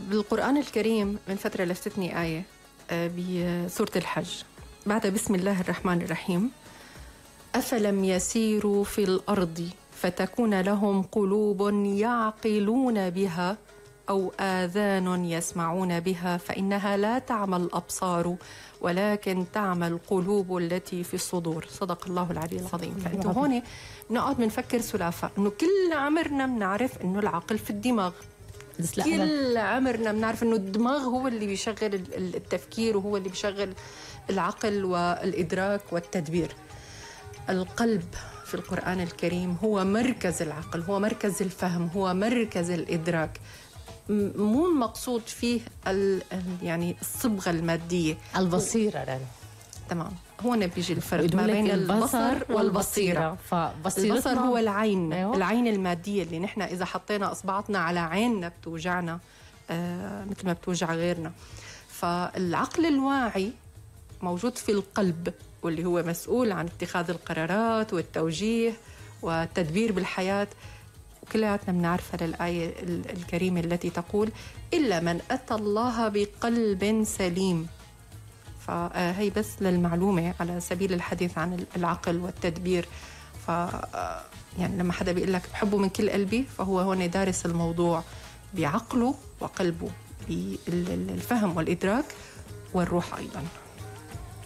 بالقرآن الكريم من فترة لفتتني آية بسورة الحج بعد بسم الله الرحمن الرحيم: أفلم يسيروا في الأرض فتكون لهم قلوب يعقلون بها أو آذان يسمعون بها فإنها لا تعمى الأبصار ولكن تعمى القلوب التي في الصدور. صدق الله العلي العظيم. فأنتوا هون بنقعد بنفكر سلافة إنه كل عمرنا بنعرف إنه العقل في الدماغ، كل عمرنا بنعرف إنه الدماغ هو اللي بيشغل التفكير وهو اللي بيشغل العقل والإدراك والتدبير. القلب في القرآن الكريم هو مركز العقل، هو مركز الفهم، هو مركز الإدراك. مو المقصود فيه يعني الصبغة المادية، البصيرة. تمام، هون بيجي الفرق ما بين البصر والبصيرة. البصر هو العين، أيوة. العين المادية اللي نحن إذا حطينا إصبعتنا على عيننا بتوجعنا مثل ما بتوجع غيرنا. فالعقل الواعي موجود في القلب واللي هو مسؤول عن اتخاذ القرارات والتوجيه والتدبير بالحياة. وكلياتنا بنعرفها للآية الكريمة التي تقول: إلا من أتى الله بقلب سليم. فهي بس للمعلومة على سبيل الحديث عن العقل والتدبير. يعني لما حدا بيقول لك بحبه من كل قلبي فهو هون دارس الموضوع بعقله وقلبه، بالفهم والإدراك والروح أيضاً.